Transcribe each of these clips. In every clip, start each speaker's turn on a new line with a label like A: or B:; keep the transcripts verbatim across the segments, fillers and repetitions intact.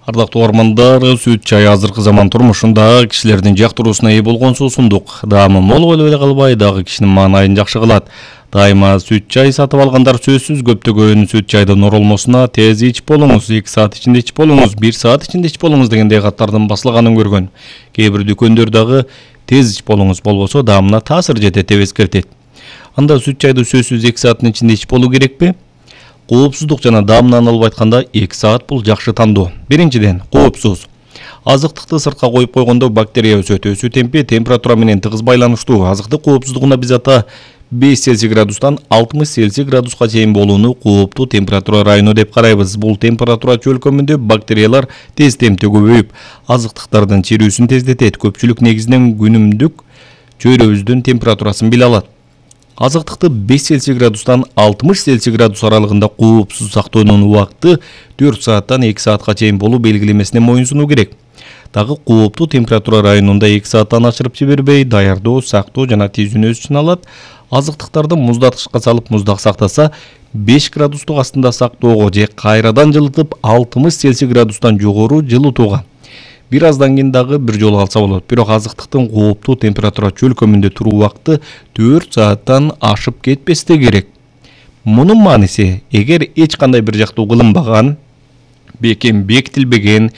A: Ардактуу угармандар, сүт чай азыркы заман турмушунда кишилердин жактыруусуна ээ болгон суусундук. Даамы мол болуп эле калбай, дагы кишинин маанайын жакшы кылат. Дайыма сүт чай сатып алгандар сөзсүз көптөгөн сүт чайдын оролмосуна тез ичип болуңуз, эки саат ичинде ичип болуңуз, бир саат ичинде ичип болуңуз дегендей каттардын басылганын көргөн. Кээ бир дүкөндөр дагы тез ичип болуңуз, болбосо даамына таасир жетет деп эскертет. Анда сүт чайды сөзсүз эки сааттын ичинде ичип болуу керекпи? Коопсуздук жана даамынан алып айтканда эки саат бул жакшы тандоо. Биринчиден, коопсуз. Азыктыкты сыртка коюп койгондо бактерия өсөт. Өсүү темпи температура менен тыгыз байланыштуу. Азыктык коопсуздугуна биз ата беш Цельсий градустан алтымыш Цельсий градуска чейин болууну кооптуу температура району деп карайбыз. Бул температура чөлкөмүндө бактериялар тез темпте көбөйүп, азыктыктардын чирүүсүн тездетет. Көпчүлүк негизинен күнүмдүк чөйрөбүздүн температурасын биле алат. Азыктыкты беш Цельсий градустан алтымыш Цельсий градус аралыгында коопсуз сактоонун убакыты төрт сааттан эки саатка чейин болуу белгилемесине моюнсунуу керек. Дагы кооптуу температура районунда эки сааттан ашырып жибербей, даярдоо, сактоо жана тийүүнү үчүн алат. Азыктыктарды муздаткычка салып муздак сактаса, беш градустук астында сактоого же кайрадан жылытып алтымыш Цельсий градустан жогору жылытууга. Бир аздан кийин дагы бир жолу алса болот. Бирок азыктыктын кооптуу температура чөлкөмүндө туруу убакыты төрт сааттан ашып кетпесе керек. Мунун мааниси, эгер эч кандай бир жактуу кылынбаган, бекем бекитилбеген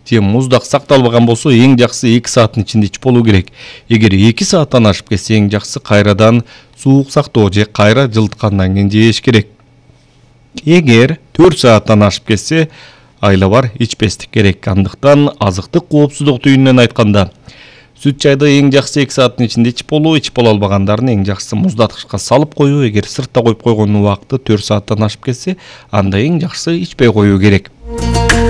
A: же муздак сакталбаган болсо, эң жакшысы эки сааттын ичинде ичип болуу керек. Эгер эки сааттан ашып кетсе, эң жакшысы кайрадан суук сактоо же кайра жылыткандан кийин жеш керек. Эгер төрт сааттан ашып кетсе, айла бар ичпестик керек. Андыктан азыктык коопсуздук түйүнүнөн айтканда, сүт чайды эң жакшысы эки сааттын ичинде ичип болуу, ичип боло албагандардын эң жакшысы муздаткычка салып коюу. Эгер сыртта коюп койгон убакыты төрт сааттан ашып кетсе, анда эң жакшысы ичпей коюу керек.